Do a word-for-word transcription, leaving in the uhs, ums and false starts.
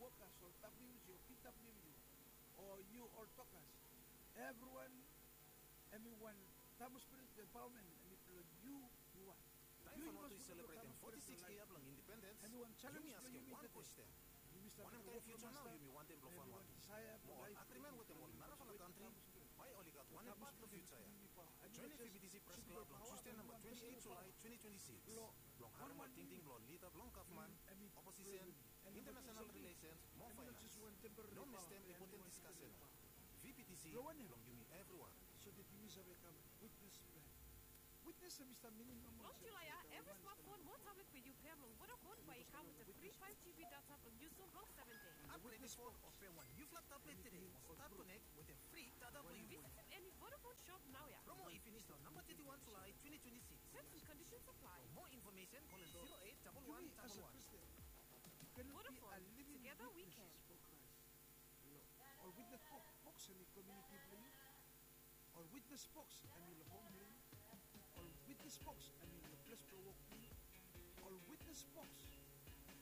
Tokas ol W C C o P W C C o U ol tokas, evriwan hemi wan Tamil Spirit Empowerment, hemi blong yu, yu wan. Taem Vanuatu i selebretem foti sikis yia blong indipendens, yumi askem wan kwesten: wanem kaen fiuja nao yumi wantem blong Vanuatu? Mo ol agrimen wetem ol narafala kantri, bae oli gat wanem pat long fiuja ya? Joenem VBTC Pres Klab long Tusde namba twenti eit Julae twenti twenti sikis blong harem ol tingting blong ol lida blong gavman, oposisen, internasenal rilesens mo faenans. No mistem impoten diskasen ya. VBTC blong yumi evriwan. Long Julae ya, evri smatfon mo tablet blong yu pea blong Vodafone bae i kam wetem fri five GB data blong yusum long seven dei. Apgredem fon o pem wan niufala tablet tede mo stat konek wetem fri data blong yu. Visitim eni Vodafone shop naoia. Promo i finis long namba teti wan Julae twenti twenti sikis. Terms and conditions apply. For more information, call zero eight double one double one. Vodafone, together we can. Long ol witnes boks, boks hemi komuniti blong yu. Ol witnes boks hemi long hom blong yu. Ol witnes boks hemi long ples blong wok blong yu. Ol witnes boks